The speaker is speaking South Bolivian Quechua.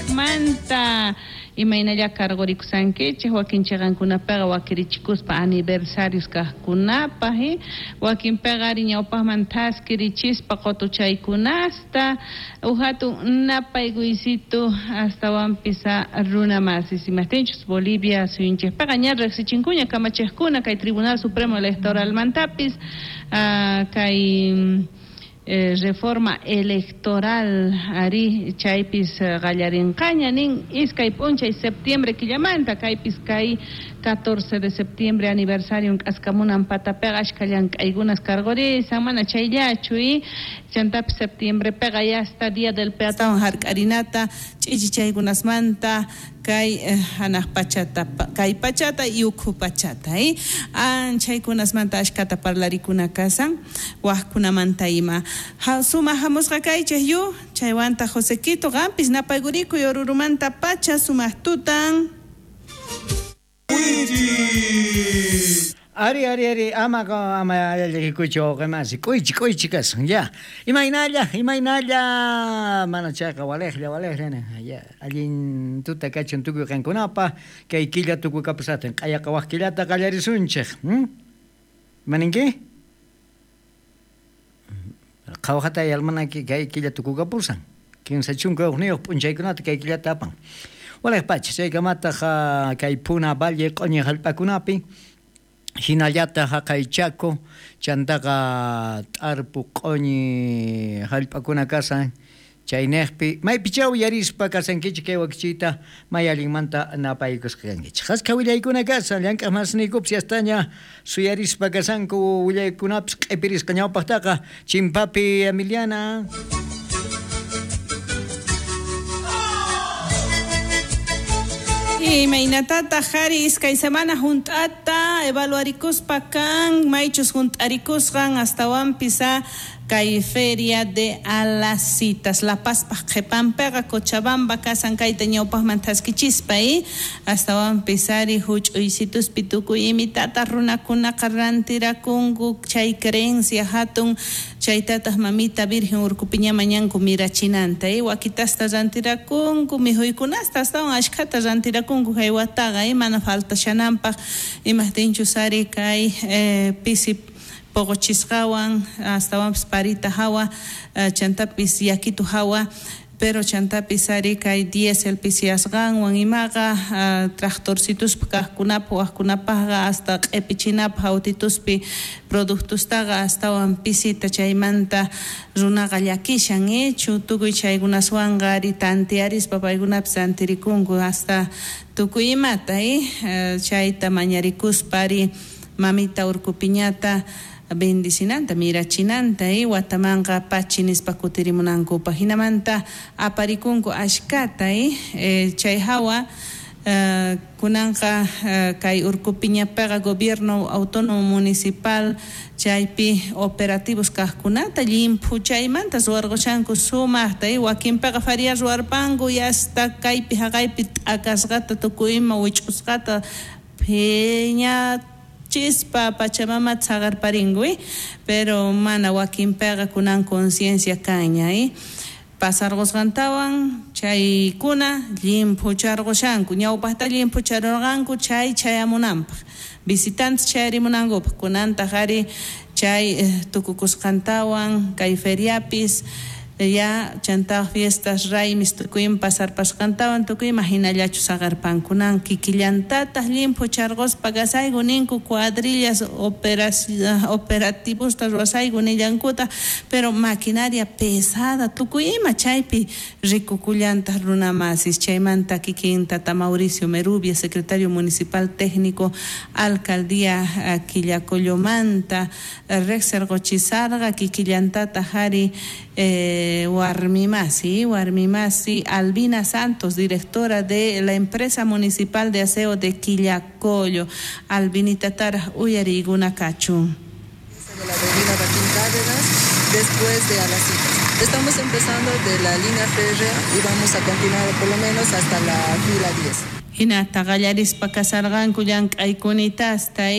Kajmanta imaynalla cargorikusankichej wakin chiqankunapiqa wakirichikuspa aniversarios kajkunapaj wakinpiqa ari ñawpaqman thaskirichispa qutuchaykunasta uj hatun napaykuysito astawanpis runa masis imajtinchus Bolivia suyunchikpiqa ña riqsichinkuña kamachejkuna kay Tribunal Supremo Electoralmantapis kay reforma electoral ari chaypis qallarinqaña nin iskay p'unchay septiembre killamanta kaypis kay 14 de septiembre aniversario k'askamunan patapiqa ashka llank'aykunas cargorisan mana chayllachu chantapis septiembrepiqa yasta día del peatón hark'arinata ch'ichichaykunasmanta kay hanaq pachata kay pachata y ukhu pachata anchaykunasmanta ashkata parlarikuna kasan wajkunamanta ima sumaq hamusqa kaychej yu chaywanta Josequito qampis napaygurikuy Orurumanta pacha sumaq tutan. Ari, ari, ari, ama, ama, llakikuychu wawqimasi, k'uychi, k'uychi kasun, ya. Imaynalla, imaynalla, mana chayqa walejlla, walejlla, ya. Allin tuta kachun tukuy qankunapa, kay killa tukukapusaqtin, q'ayaqa waj killata qallarisunchej. Imaninki? Qhawajatay almanaki kay killa tukukapusan. 31 p'unchaykunata kay killata apan. Walej pacha, chaykamataq kay Puna Valle q'uñi hallp'akunapi, hinallataq haqay Chaco, chantaqa t'arpu q'uñi hallp'akuna kasan, chaynejpi maypichaw yarispa kasankichik kay wakichiyta may allinmanta napaykusqa kankichik. Askha willaykuna kasan, llank'aq masniykupis yastaña suyarispa kasanku willaykunapis q'ipirisqa ñawpaqtaqa chimpapi Emiliana. Imaynatata jari iskay semana junt'ata evaluarikuspa kan maychus junt'arikusqan astawanpis kay feria de Alasitas La Pazpaj qhipanpiqa Cochabamba kasan kayta ñawpaqman thaskichispa astawanpis ari huch'uysituspi tukuy imitata runakunaqa rantirakunku chay creencia hatun chaytataq mamita Virgen Urkupiña mañanku mirachinanta wakitasta rantirakunku mikhuykunasta astawan ashkhata rantirakunku haywataqa mana faltashananpaq imajtinchus ari kay pisi poqochisqawan astawanpis parita hawa chantapis yakitu hawa pero chantapis ari kay diésel pisiyasqanwan imaqa tractorcituspa kaqkunapaq wajkunapaqqa hasta q'ipichinapaq autituspi productustaqa astawan pisita chaymanta runaqa llakishan tukuy chaykunaswanqa ari tantiarispa paykunapis rantirikunku hasta tukuy imata chayta mañarikuspa ari mamita Urkupiñata bendicinanta mirachinanta watamanqa pachi nispa kutirimunankupaq hinamanta aparikunku ashkata chay hawa kunanqa kay Urkupiñapiqa gobierno autónomo municipal chaypi operativos kaqkunata llimphu chaymanta ruwarqushanku sumaqta wakinpiqa faria ruwarpanku hasta kaypi haqaypi t'akasqata tukuy ima wich'usqata phiña chispa Pachamama tsagarparingu pero mana wakinpiqa kunan conciencia kaña pasarqusqantawan chaykuna llimphucharqushanku ñawpaqta llimphucharurqanku chay chayamunanpaq visitantes chayarimunankupaq kunantaq ari chay tukukusqantawan kay feriapis ya chantaq fiestas raymis tukuyma pasarpasqantawan tukuyma hinallachu saqarpankunan kikillantataq llimphucharquspa kasayku ninku cuadrillas operativosta ruwasayku nillankuta pero maquinaria pesada tukuy ima chaypi rikukullantaq runamasis chaymanta kikin tata Mauricio Merubia secretario municipal técnico alcaldía Quillacollomanta riqsirquchisarqa kikillantataq ari Warmimasi Albina Santos, directora de la empresa municipal de aseo de Quillacollo. Albinita Tara uyariguna kachun. De la avenida Joaquín Cárdenas, después de Alasitas. Estamos empezando de la línea férrea y vamos a continuar por lo menos hasta la fila 10. Hinata qallarispa kasarqanku llank'aykunitasta.